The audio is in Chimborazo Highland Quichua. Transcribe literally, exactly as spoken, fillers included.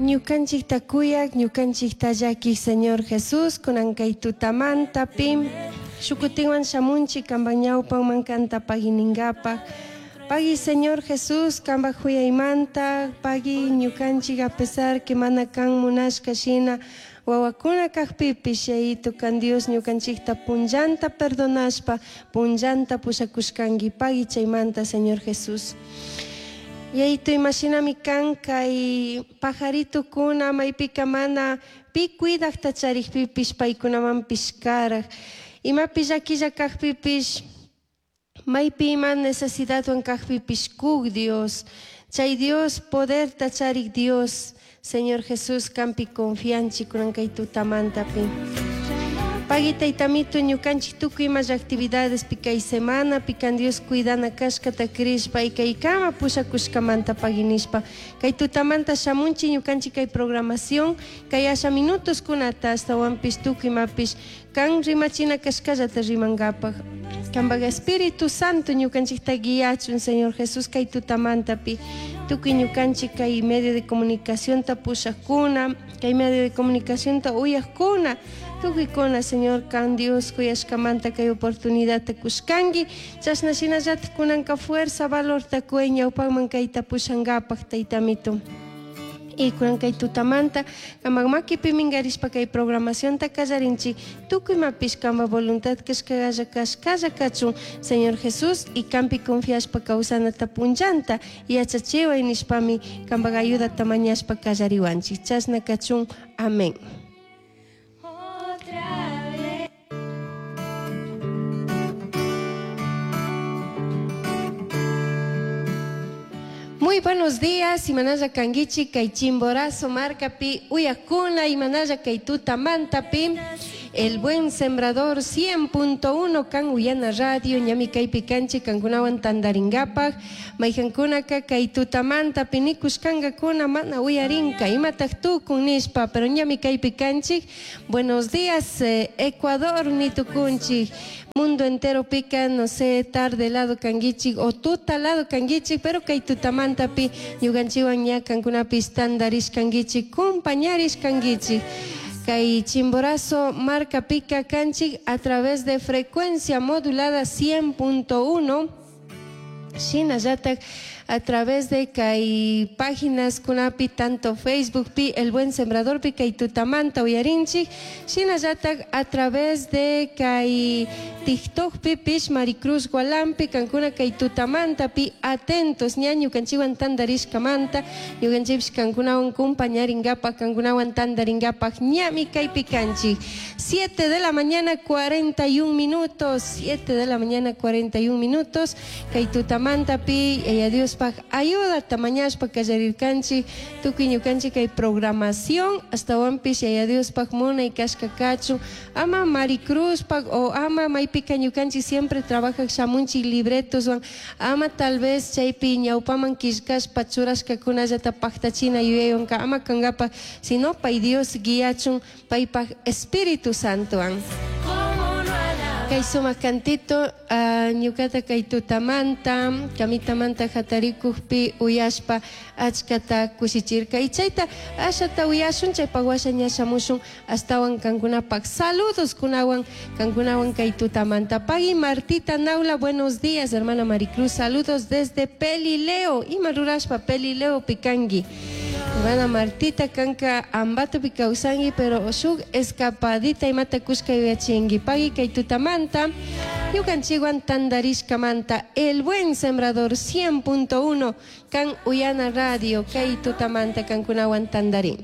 Ñukanchikta kuyak, ñukanchikta llakiq Señor Jesús, kunan kay tutamanta pim shukutinwan shamunchik kanpak ñawpanman kanta pagui. Pagui Señor Jesús, kanpak huyaymanta, pagui ñukanchik a pesar que mana kan munashka shina wawakuna kakpipish Yayito kan Dios ñukanchikta punllanta perdonashpa, punllanta pushakushkanki pagui chaymanta Señor Jesús. Yayito imashinami kan kay pajaritokuna maypika mana pi cuidakta charikpipish paykunamanpish karak imapi llakilla kakpipish maypi ima necesidadwan kakpipish kuk Dios chay Dios poderta charik Dios Señor Jesús kampi confianchik kunan kay tutamantapi. Pagui taytamito ñukanchik tukuy ima actividades pi kay semana pi kan Dios cuidana kashkata crishpa y kaykama pushakushkamanta pagui nishpa kay tutamanta shamunchik ñukanchik kay programación kay asha minutos kunata ashtawanpish tukuy imapish kan rimachina kashkallata rimankapak kanpak Espíritu Santo ñukanchikta guiachun Señor Jesús kay tutamantapi tukuy ñukanchik kay medio de comunicación ta pushakuna kay medio de comunicación ta uyakuna tukuykuna Señor kan Dios kuyashkamanta kay oportunidadta kushkanki chashna shinallatak kunanka fuerza valorta kuy ñawpakman kayta pushankapak taytamito y kunan kay tutamanta kamak makipi minkarishpa kay programacionta kallarinchik tukuy imapish kanpak voluntad kashkalla kashkalla kachun Señor Jesús y kampi confiashpa kawsanata punllanta yachachiway nishpami kanpak ayudata mañashpa kallariwanchik chashna kachun amén. Otra vez. Muy buenos días, imanalla kankichik kay Chimborazo markapi uyakuna imanalla kay tutamantapi El Buen Sembrador cien punto uno kan uyana radio ñami kaypi kanchik kankunawan tandarinkapak mayjankunaka kay tutamantapi nikushkankakuna mana uyarinka imatak tukun nishpa pero ñami kaypi kanchik. Buenos días, eh, Ecuador nitukunchik mundo entero pica, no sé, tarde lado kankichik o tuta lado kankichik, pero kay tutamantapi ñukanchikwan ña kankunapish tandarishkankichik, compañarishkankichik. Kay Chimborazo marka pica kanchik a través de frecuencia modulada cien punto uno. Shinallatak a través de kay páginas kunapi tanto Facebook pi El Buen Sembrador pi kay tutamanta uyarinchik, shinallatak a través de kay TikTok pi pish Maricruz Gualampi kankuna kay tutamanta pi atentos ña ñukanchikwan tandarishkamanta ñukanchikpish kankunawan compañarinkapak kankunawan tandarinkapak ñami kaypi kanchik. Siete de la mañana cuarenta y un minutos, siete de la mañana cuarenta y un minutos kay tutamanta pi Yaya Dios pak ayuda tamañashpa kallarirkanchik tukuy ñukanchik kay programación hasta wanpish Yaya Dios pak munay kashka kachun ama Maricruz pak o ama maypika ñukanchik siempre trabajak shamunchik libretoswan ama tal vez chaypi ñawpaman killkashpa churashkakunallata paktachina yuyaywanka ama kankapa sino pay Dios guiachun paypak Espíritu Santowan. Kay sumak cantito, ah, ñukata kay tutamanta, kamitamanta hatarikukpi uyashpa achkata kushichirka. Y chayta ashata uyashun, chaypak washa ña shamushun astawan kankunapak. Saludos kunawan, kankunawan kay tutamanta. Pagui Martita Naula, buenos días, hermana Maricruz. Saludos desde Pelileo. Ima rurashpa Pelileo pikangi. Hermana Martita kanka ambato pikausangi, pero shuk escapadita imata kushka yuyachingi. Pagui kay tutamanta, ñukanchikwan tandarishkamanta, El Buen Sembrador cien punto uno, kan Uyana Radio, kay tutamanta kankunawan tandarin.